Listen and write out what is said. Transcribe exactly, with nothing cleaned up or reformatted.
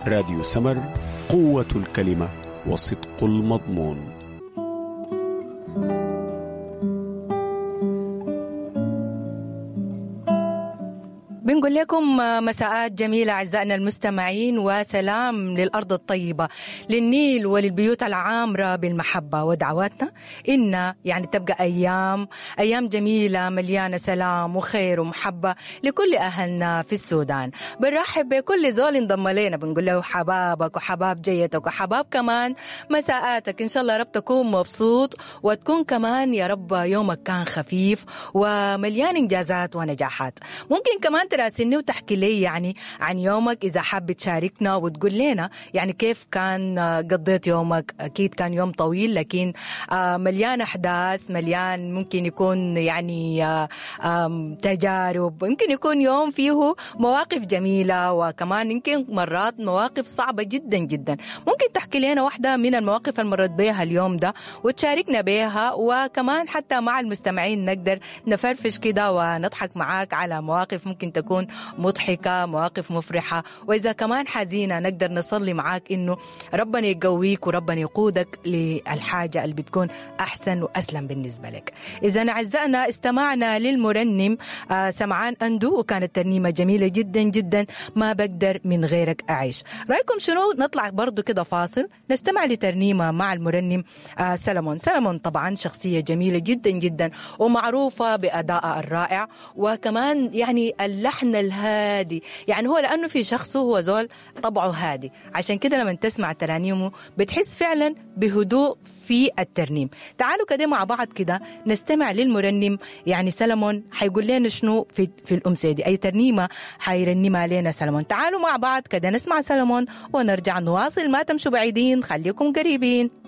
راديو سمر، قوة الكلمة وصدق المضمون. بنقول لكم مساءات جميلة أعزائنا المستمعين، وسلام للأرض الطيبة، للنيل وللبيوت العامرة بالمحبة. ودعواتنا إن يعني تبقى أيام أيام جميلة مليانة سلام وخير ومحبة لكل أهلنا في السودان. بنرحب بكل زول انضم لنا، بنقول له حبابك وحباب جيتك وحباب كمان مساءاتك. إن شاء الله رب تكون مبسوط وتكون كمان يا رب يومك كان خفيف ومليان إنجازات ونجاحات. ممكن كمان تراسلني وتحكي لي يعني عن يومك إذا حابة تشاركنا وتقول لنا يعني كيف كان قضيت يومك. أكيد كان يوم طويل لكن مليان أحداث، مليان ممكن يكون يعني تجارب، ممكن يكون يوم فيه مواقف جميلة وكمان يمكن مرات مواقف صعبة جدا جدا. ممكن تحكي لنا واحدة من المواقف اللي مرت بيها اليوم ده وتشاركنا بيها، وكمان حتى مع المستمعين نقدر نفرفش كده ونضحك معاك على مواقف ممكن تكون مضحكة، مواقف مفرحة، وإذا كمان حزينة نقدر نصلي معاك إنه ربنا يقويك وربنا يقودك للحاجة اللي بتكون أحسن وأسلم بالنسبة لك. إذا أعزائنا استمعنا للمرنم آه سمعان أندو، وكانت ترنيمة جميلة جدا جدا، ما بقدر من غيرك أعيش. رأيكم شنو؟ نطلع برضو كده فاصل نستمع لترنيمة مع المرنم آه سلمون. سلمون طبعا شخصية جميلة جدا جدا ومعروفة بأدائها الرائع، وكمان يعني اللحن الهادي، يعني هو لأنه في شخصه هو زول طبعه هادي، عشان كده لما تسمع ترانيمه بتحس فعلا بهدوء في الترنيم. تعالوا كده مع بعض كده نستمع للمرنم يعني سلمون، حيقول لنا شنو في, في الأمسية دي، أي ترنيمة حيرنمها لنا سلمون. تعالوا مع بعض كده نسمع سلمون ونرجع نواصل، ما تمشوا بعيدين، خليكم قريبين.